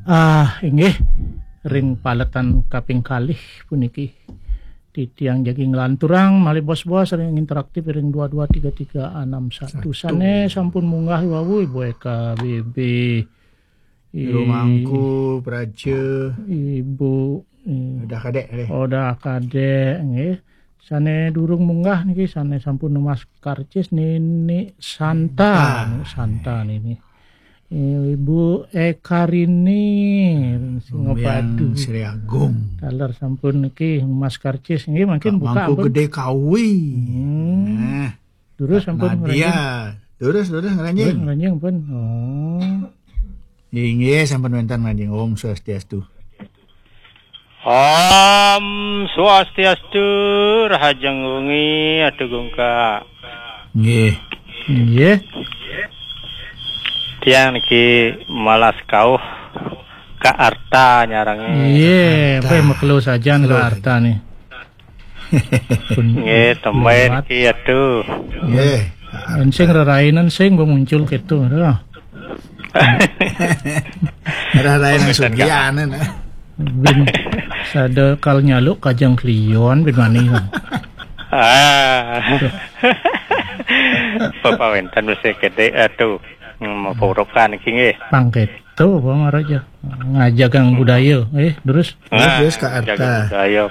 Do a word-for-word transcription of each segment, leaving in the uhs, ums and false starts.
Ah, inggih, ring paletan kaping kalih puniki. Titiang jagi nglanturang malih bos-bos ring interaktif ring dua dua tiga tiga enam satu. Satu. Sane sampun munggah wau, Ibu Eka B B. Jero I-, Mangku, Praja. Ibu, i-, Udah Kadek, deh. Udah Kadek, nggih. Sane durung munggah niki, sane sampun numbas karcis, Nini Santa. Ah. Nini Santa nini. Ibu Ekarini, Singapadu. Sri Agung. Taler sampun niki, Mas Karcis. Nggih, mangkin Pak buka Mangku ampun. Gede Kawi. Hmm. Nah, Durus Pak sampun Nadia. Ngranjing. Durus, durus, ngranjing. Durus, ngranjing pun. Oh. Inggih, sampun wenten ngranjing. Om Swastiastu. Om Swastiastu, rahajeng wengi, Atu Gungka. Nggih. Nggih. Tiang niki malas kauh ka Arta nyarengé. Iya, apa yang makelo sajan ka Arta nih? Nggih, tembai niki, Atu. Nggih. Ensing rerainan sing muncul gitu, dah. Rerainan sugianan, eh. Bin sada kal nyaluk kajeng klion bin mani. Ah. Bapak wenten mesti gede, Atu. Hmm, mapurukan iki nggih. Pang keto, Bang Raja. Ngajagang budaya, eh, terus. Terus, ah, terus ka Arta. Jaga budaya.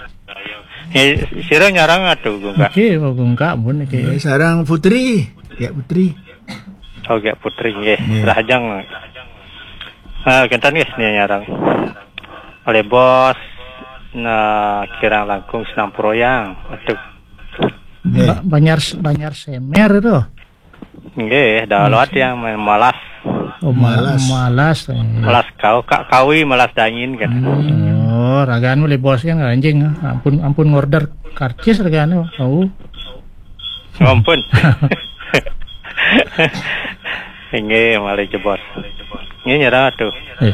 Eh, sira nyarang, Atu, Gungka. Oke, Pak Gungka, pun iki. Eh, sarang Putri. Ya, Putri. Oh, ya, Putri, nggih. Nggih. Rahajeng. Ah, kenten nggih, nih nyarang. Oleh bos, nah, kirang langkung senang proyang. Atu. Nggih. Ba-, Banjar, Banjar Semer itu. Nggih, dah lewat yang main malas. Oh, ma-, malas. Malas, eh. Malas kau, Kak Kawi malas dangin kan. Hmm. Oh, ragaan oleh bos kan anjing. Ampun, ampun ngorder karcis ragaan. Oh. Ampun. Inggih, malih jebos. Nggih, nyerah tuh. Eh.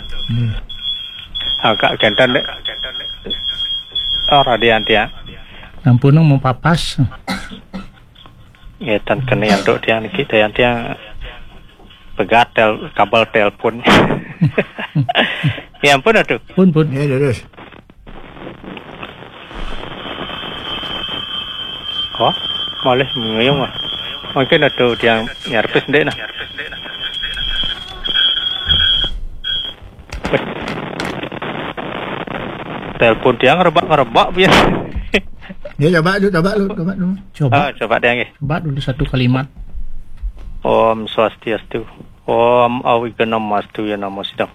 Agak kenten dek. Oh, radian tiang. Ampun, mau papas. Nggih, tan kene antuk tiang niki, tiang, tiang pegat tel-, kabel telepon. Ya ampun, Atu. Pun, pun. Ya, terus. Wah, malih ngeyung, ah. Mungkin Atu tiang nyarpis ndek nah. Telepon tiang ngerebak-ngerebak biasa. Ya, coba dulu, coba lu, coba dulu. Coba. Ah, coba deh, nggih. Coba dulu satu kalimat. Om Swastiastu. Om Awighnam Astu ya namo sidam.